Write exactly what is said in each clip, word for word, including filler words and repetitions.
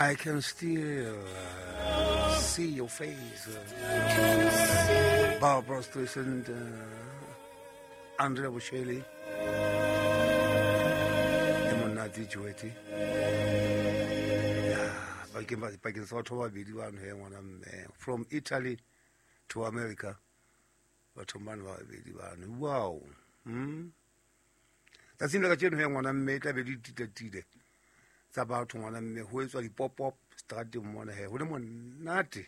I can still uh, see your face. Barbra Streisand, uh, Andrea Bocelli, e monate Joeti. Yeah, bakeng sa batho ba babedi bano he ngwana mme, from Italy to America, batho bano ba babedi bano. Wow. Hmm? Tsatsing la kajeno he ngwana mme, e tla be di titatile tsa batho ngwana mme, ho etswa di-pop-up strateng mona he, ho le monate.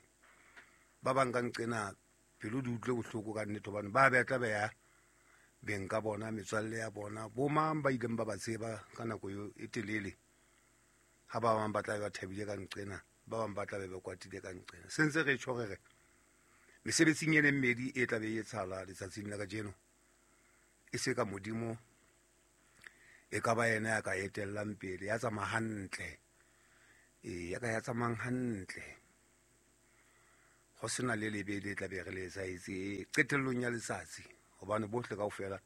Ba bang ka nqena pelo di utlwe bohloko ka nnete, hobane ba be tla be ya beng ka bona, metswalle ya bona, bo mang ba ileng ba ba tseba ka nako eo e telele. Ha ba bang ba tla be ba thabile ka nqena, ba bang ba tla be ba kwatile ka nqena. Se ntse re tjho re re mesebetsing e leng mmedi e tla be e etsahala letsatsing la kajeno, e se ka Modimo e ka ba yena ya ka etellang pele, ya tsamaya hantle, e ya ka ya tsamayang hantle, ho sena le lebe le tla be re le etsahetse qetellong ya letsatsi, hobane bohle kaofela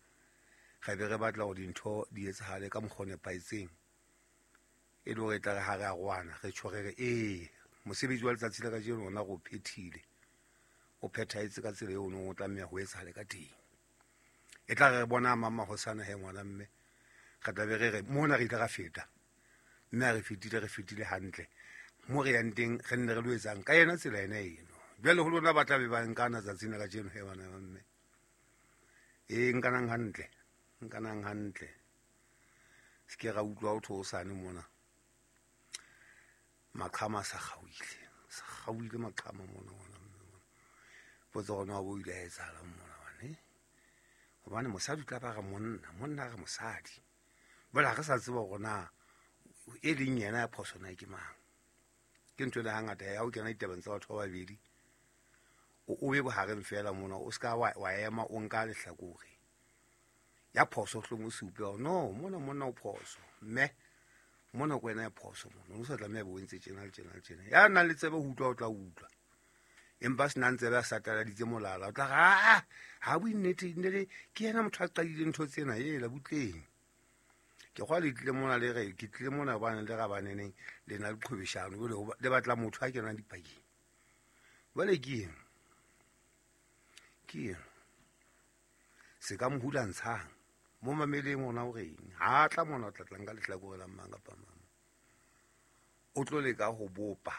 re be re batla hore dintho di etsahale ka mokgwa o nepahetseng, e le hore e tla re ha re arohana re tjho re re ee, mosebetsi wa letsatsi la kajeno ona re o phethile, o phethahetse ka tsela eo o neng o tlameha ho etsahale ka teng. E tla re bona mama hosana he ngwana mme, re tla be re re mona re ile ra feta, mme ha re fetile re fetile hantle, mo re yang teng re nne re lo etsang ka yena tsela ena eno. Jwale ho lona ba tla be ba nkana tsatsing la kajeno he bana ba mme, e nkanang hantle, nkanang hantle, se ke ra utlwa ho thwe hosane mona maqhama a sa kgaohile, sa kgaohile maqhama mona ngwana mme mona. Potso hore na bo ile a etsahalang mona bane, hobane mosadi o tla ba re monna, monna a re mosadi. Jwale ha re sa tseba hore na e leng yena ya phoso na ke mang. Ke ntho e le hangata ya ho kena ditabeng tsa batho ba babedi, o, o be bohareng feela mona, o ska wa, wa ema o nka lehlakore. Ya phoso hlong o supe hore no, mona monna o phoso, mme mona ke wena ya phoso mona, o sa tlameha bo entse tjena le tjena le tjena. Ya nang le tsebe ho utlwa o tla utlwa, empa se nang tsebe a sataladitse molala, o tla re, ah, ha bue nnete, nnete, ke yena motho a qadileng ntho tsena, hela butleng. Ke kgwa le tlile mona le re, ke tlile mona hobane le rabaneneng, le na le qhwebeshano, jwale ho ba, le batla motho a kenang dipakeng. Jwale ke eng? Ke eng? Se ka mo hulantshang, mo mameleng ona o reng? Ha tla mona o tla tlang ka lehlakore la mang kapa mang. O tlo leka ho bopa.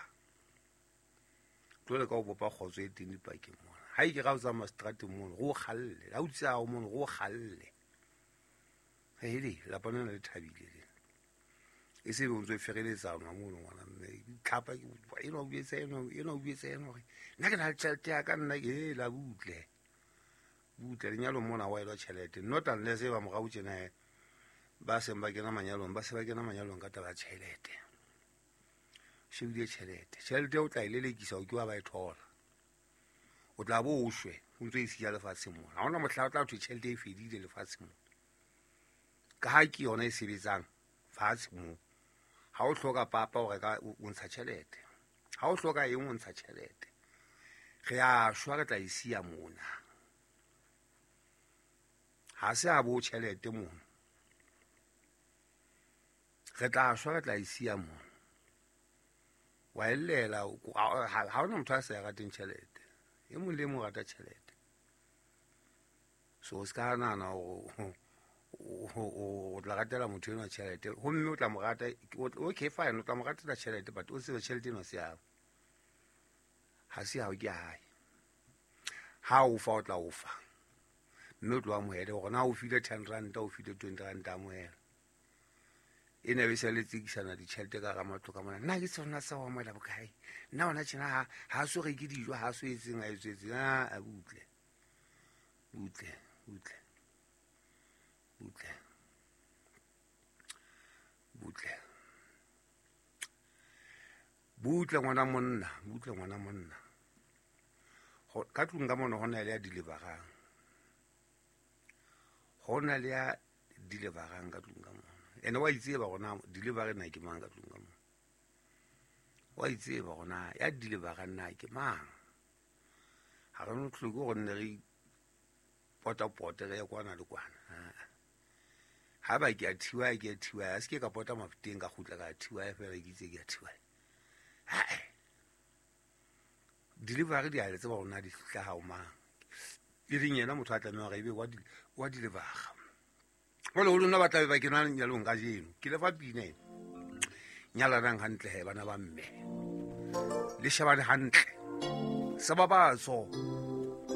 O tlo leka ho bopa kgotso e teng dipakeng mona. Ha e ke ra o tsamaya seterateng mono, re o kgalle. Ha o tsaya o mono, re o kgalle. Hele, lapa lena le thabile lena. E se be o ntso e fereletsana mono ngwana mme. Tlhapa ke enwa o buetse enwa, enwa o buetse enwa hore nna ke na le tjhelete ya ka nna ke, hela butle. Butle lenyalong mona wa elwa tjhelete. Not unless e ba morao tjena he, ba seng ba kena manyalong, ba se ba kena manyalong ka taba ya tjhelete. Shebile tjhelete. Tjhelete o tla e lelekisa o ke wa ba e thola. O tla bo o shwe, o ntso e siya lefatsheng mona. Ha hona mohla o tla thwe tjhelete e fedile lefatsheng mona. Ka ha ke yona e sebetsang fatshe moo. Ha o hloka papa o reka, o ntsha tjhelete. Ha o hloka eng o ntsha tjhelete. Re a shwa re tla e siya mona. Ha se a bo tjhelete mona. Re tla shwa re tla e siya mona. Wa ellela, ha hona motho a sa e rateng tjhelete. E mong le e mong o rata tjhelete. So o ska nahana hore o, o tla ratela motho enwa tjhelete, homme o tla mo rata, okay fine, o tla mo ratela tjhelete, but o tsebe tjhelete eno ha se ya hao. Ha se ya hao, ke ya hae. Ha o fa o tla o fa, mme o tlo amohele hore na o file ten rand, o file twenty rand, amohela. E ne be se le tsekisana ditjhelete ka hara matlo ka mona. Nna ke sona sa ho amohela bokae? Nna hona tjena ha, ha so reke dijo, ha so etseng, ha etseng. Ah, a butle. Butle, butle. Butle. Butle. Butle ngwana monna, butle ngwana monna. Ho, ka tlung ka mona hona le ya deliverang. Hona le ya deliverang ka tlung ka mona. Ene wa itseba hore na delivery na ke mang ka tlung ka mona. Wa itseba hore na ya deliverang na ke mang. Ha re no hloke hore nne re pota-pote re ye kwana le kwana. Ha ba ke a thiwa, ke a thiwa, a se ke ka pota mafuteng ka kgutla ka thiwa feela ke itse ke a thiwa. Hae, delivery di a le tseba hore na di hlaha ho mang, e leng yena motho a tlameha hore ebe wa di wa delivera. Jwale ho lona ba tlabe ba kena lenyalong kajeno, ke le fa pina ena. Nyalanang hantle he bana ba mme, le shebane hantle, se babatso.